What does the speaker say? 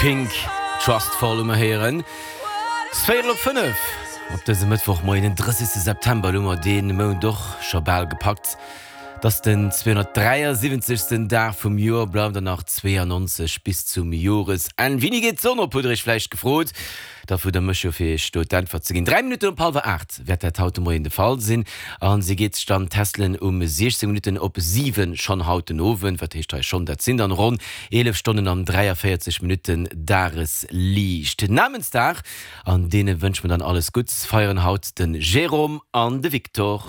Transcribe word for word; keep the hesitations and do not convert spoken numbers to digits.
Pink, Trustfall hu mer héieren. Et ass véierel op fënnef op dësem Mëttwochmoien, den drëssegste September. Elo hu mer dee Mount och scho bal gepackt. Et ass den zweehonnertdräiasiwwenzegsten Dag vum Joer, bleiwen der nach zweeanonzeg bis zum Joresenn. Wéini geet d'Sonn op, hutt der iech vläicht gefrot. Da fuer der mech jo fir iech do d'Äntwert ze ginn. Dräi Minutten op hallwer aacht wäert dat haut de Moien de Fall sinn a si geet sech dann tässelen um siechzéng Minutten op siwen schonn haut den Owend. Wat heescht hei schonn? Dat sinn dann ronn eelef Stonnen an dräiavéierzeg Minutten Dagesliicht. Namensdag, an deene wënsche mer dann alles Gutts, feieren haut de Jérôme an de Victor.